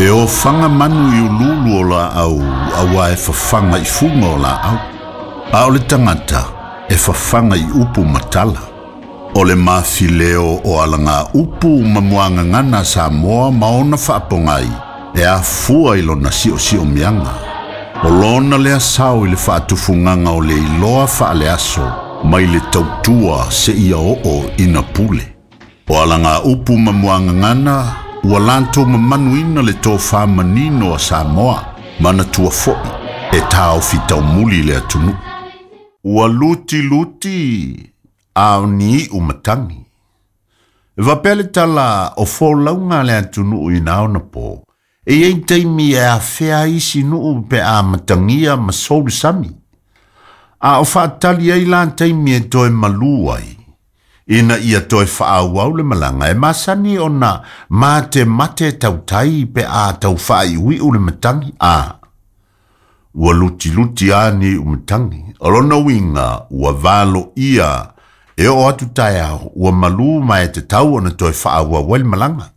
E ofaga manu i uluulu o laau auā e fafaga i fuga o laau. A o le tagata e fafaga i upu ma tala. O le mafileo o alagaupu ma muagagana a Samoa ma ona faapogai e afua i lona siosiomiaga. O lona lea sao i le faatufugaga o le iloa faaleaso mai le tautua seia oo ina pule. O alagaupu ma muagagana ua latou mamanuina le tofā manino a Samoa, manatua foi e taofi taumuli le atunuu. Ua lutiluti a o ni iu matagi. E faapea le tala o folauga a le atunuu i na ona po, e i ai taimi e afea ai isi nuu pe a matagia ma sou le sami. A o faatali ai la taimi e toe malū ai, ina ia toe faaauau le malaga e masani ona matemate tautai pe a tau faaiuiu le matagi a. Ua lutiluti a ni iu matagi. O lona uiga ua valoia e oo atu taeao ua malū ma e tatau ona toe faaauau ai le malaga.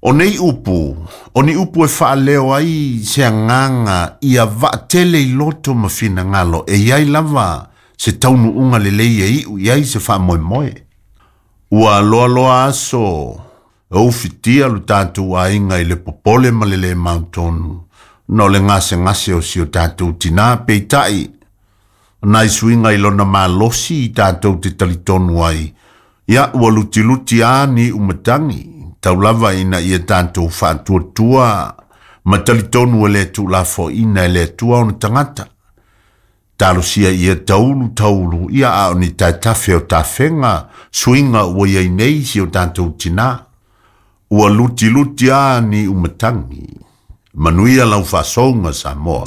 O nei upu, o ni upu e faaleo ai se agaga ia vaatele i loto ma finagalo e i ai lava se taunuuga lelei e iu i ai se faamoemoe. Ua loaloa aso e ufitia lo tatou aiga i le popole ma le lē mautonu ona o le gasegase o si o tatou tinā. Peitai, o nai suiga i lona malosi i tatou te talitonu ai, ia ua lutiluti a ni iu matagi, tau lava ina ia tatou faatuatua ma talitonu e le tuulafoaina e le Atua ona tagata. Talosia ia taulu taulu, ia a o ni taetafe o tafega suiga ua i ai nei si o tatou tinā. Ua lutiluti a ni iu matagi. Manuia lau faasouga Samoa.